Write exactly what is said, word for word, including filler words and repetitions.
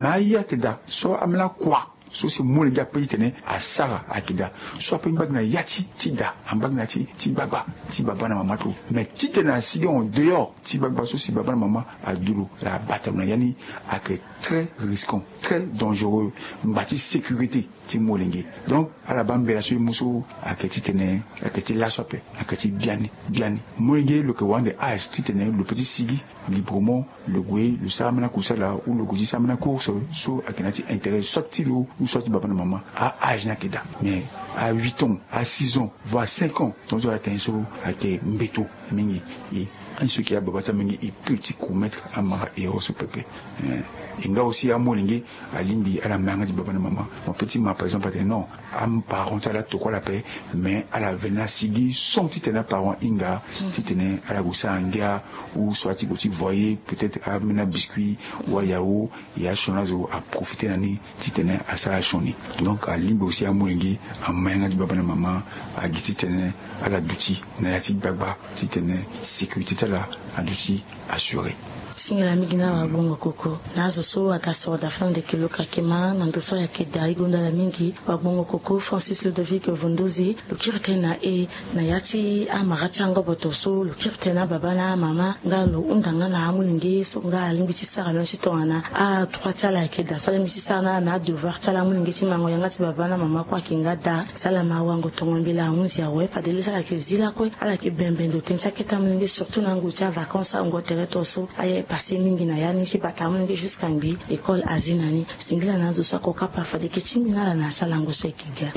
na aye ayeke daa so ambeni akua so si molenge ape titene asara ayeke daa. So ape ngbage na ya ti ti daa, angbage na ya ti ti gbagba ti baba na mama ti lo. Mais titene asigi en dehors ti gbagba so si baba na mama adu lo, ala bata lo na ya ni, ayeke très risquant, très dangereux. Ngba ti sécurité ti molenge. Donc ala baa mbela so e mu so ayeke titene ayeke ti laso ape, ayeke ti biani biani. Molenge lo yeke wande age titene lo pe ti sigi librement, lo gue lo sara ambeni akusala ou lo gue ti sara ambeni acourse so ayeke na ya ti intérêt soit ti lo ou soit ti baba na mama. A age ni ayeke daa, mais a huit ans, a six ans, voire cinq ans, tongaso ala tene so ayeke mbeto mingi. E anso yeke ababa ti amingi e peut ti commettre amara erreur so pepe. E nga aussi amolenge alingbi ala ma yanga ti baba na mama. Mo peut ti ma par exemple atene non, aparent ti ala ala tokua ala ape, mais ala veni asigi son titene aparent ahinga titene ala gue sara ngia ou soit ti gue ti voyer peut-être ambeni abiscuit ou ayao. E asioni azo aprofite na ni titene asara asioni. Donc alingbi aussi amolenge ama yanga ti baba na mama, agi titene ala duti na ya ti gbagba titene sécurité ti ala aduti assuré. Singila mingi na wagbongo koko na azo so aga soro daa fana ndeke lo kake ma na ndo so ayeke daa e gonda ala mingi. Wagbongo koko Francis Ludovic Vondoze, lo kiri tënë na e na ya ti amara ti angoboto so lo kiri tënë na ababa na amama nga lo hunda nga na amolenge so nga alingbi ti sara lo ni ti tongana adroit ti ala ayeke daa so alingbi ti sara na ala na adevoir ti ala amolenge ti mango yanga ti baba na mama kue ayeke nga daa. Si ala ma wango tongo mbela ahunzi awe fade lê so ala yeke zi lakue ala yeke bembe ndo tënë ti akete amolenge surtout na ngu ti avacance ango tere to so aye e passe mingi na ya ni ti bata amolenge jusqu'à ngbii école azi na ni. Singila na azo so ako kapa fade eke ti mbi na ala na asalango so eke ga.